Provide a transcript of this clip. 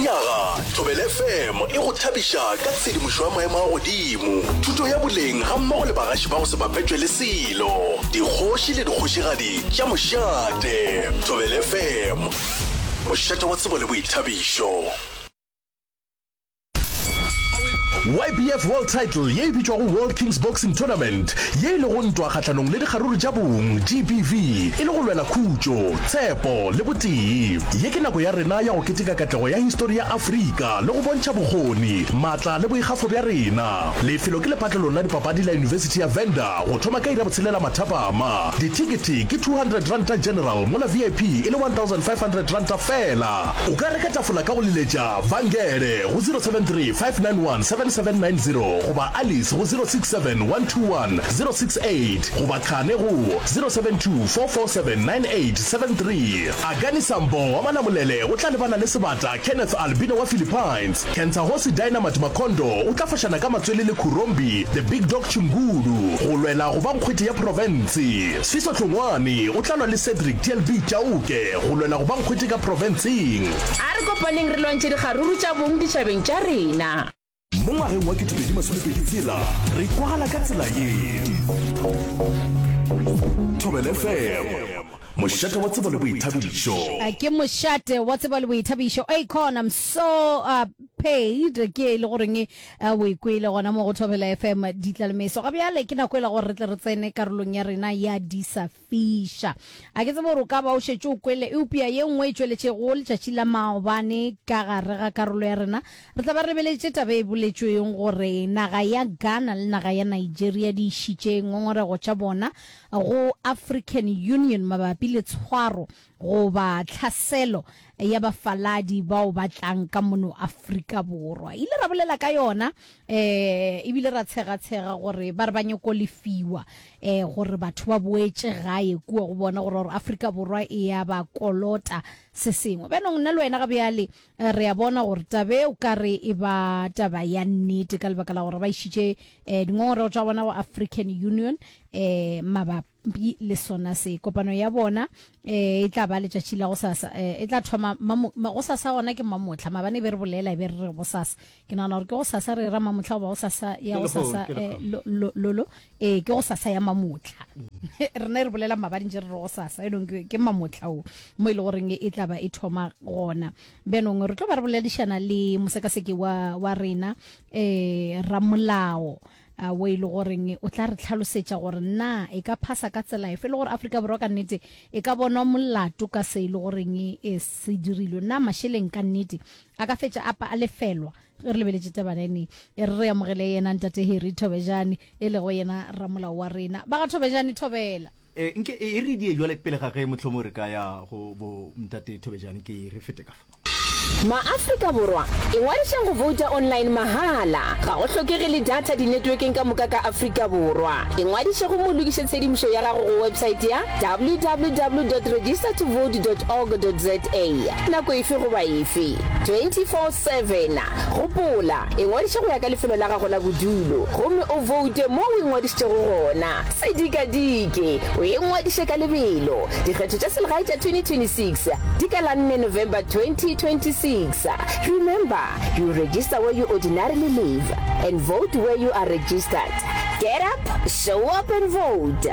Lenyaga, Thobela FM e go thabiša ka tshedimošo ya maemo a godimo, thuto ya boleng gammogo le bagaši ba go se bapetšwe le selo, dikgoši le dikgošigadi tša mošate. Thobela FM, mošate wa tsebo le boithabišo. YBF World Title ye e bitšwago World Kings Boxing Tournament, ye e lego ntwa kgahlanong le dikgaruru tša bong, GBV, e le go lwela khutšo, tshepo le botee. Ye ke nako ya rena ya go keteka katlego ya histori ya Afrika le go bontšha bokgoni, maatla le boikgafo bja rena. Lefelo ke lepatlelong la dipapadi la Yunibesithi ya Venda go thoma ka iri ya botshelela mathapama. Dithekethe ke R200 General mola VIP e le R1500 feela. O ka reka tafola ka go leletša Vangele go 073 591 7790 goba Alice go 067 121 068 goba Khane go 072 447 9873. Akani Sambo wa Malamulele o tla lebana le sebata Kenneth Albino wa Philippines. Kentsahosi Dynamite Makondo o tla fošana ka matswele le Khurombi The Big Dog Chingulu go lwela go ba nkgwete ya profense. Sfiso Hlongwane o tla lwa le Cedric TLB Chauke go lwela go ba nkgwete ka profenseng. A re kopaneng re lwantšhe dikgaruru tša bong ditšhabeng tša rena. Mo ngwageng wa 2026 re kwagala ka tsela ye. Thobela FM, mošate wa tsebo le boithabišo. Ke mošate wa tsebo le boithabišo. Akon, I'm so uh, paid ke e le goreng o e kwele gona mo go Thobela FM ditlalemeso. Ga bjale ke nako e la gore re tle re tsene karolong ya rena ya disa fiša. A ke tsebe gore o ka ba o šetše o kwele, eupša ye nngwe e tšweletšego letšatši la maobane ka gare ga karolo ya rena, re tla ba re lebeletše taba e boletšweng gore naga ya Ghana le naga ya Nigeria di išitše ngongorego tša bona go African Union mabapi le tshwaro goba tlhaselo ya bafaladi bao ba tlang ka mono Afrika Borwa. Ile ra bolela ka yona um ebile ra tshega-tshega gore ba re ba nyoko lefiwa um gore batho ba boetše gae kua go bona gore gore Afrika Borwa e ya ba kolota se sengwe. Bjanong nna le wena ga bjale re a bona gore taba e o ka re e ba taba ya nnete ka lebaka la gore ba išitše um dingongorego tša bona go African Union um mabapi Mpi le sona se. Kopano ya bona e tla ba letšatši la gosasa, e tla thoma gosasa gona ke mamohla. Maabane e be re bolela e be re re gosasa. Ke nagana gore ke gosasa re ra mamohla goba gosasa ya gosasa lolo. Ee, ke gosasa ya mamohla. Rena e re bolela maabane ntše re re gosasa, e nong ke mamohla o mo e le goreng e tla ba e thoma gona. Bjanong re tlo ba re boledišana le mosekaseki wa wa rena um ramolao a wo e le goreng o tla re tlhalosetša gore na e ka phasa ka tsela efe le gore Afrika Borwa ka nnete e ka bonwa molato ka se e le goreng e se dirilwe. Na mašeleng ka nnete a ka fetša a pa a lefelwa ge re lebeletše tabana ene? E re re amogele yena Ntate Harry Thobejane e lego yena ramolao wa rena. Ba ga Thobejane, thobela. E, nke e re die jwale pele ga ge mohlomong re ka ya go bo Ntate Thobejane, ke re fete ka fa. Ma-Afrika Borwa, ingwadišeng go bouta online mahala. Ga go hlokege le data dinetwekeng ka moka ka Afrika Borwa. Ingwadiše gomme o lokiše tshedimošo ya gago go websaete ya www dot registertovote dot org dot za nako efe goba efe, 24/7. Gopola, ingwadiše go ya ka lefelo la gago la bodulo gomme o voute mo o ingwadišitšego gona. Se dikadike, o ingwadiše ka lebelo. Dikgetho tša selegae tša 2026 di ka la nne November 2026. Remember, you register where you ordinarily live and vote where you are registered. Get up, show up and vote!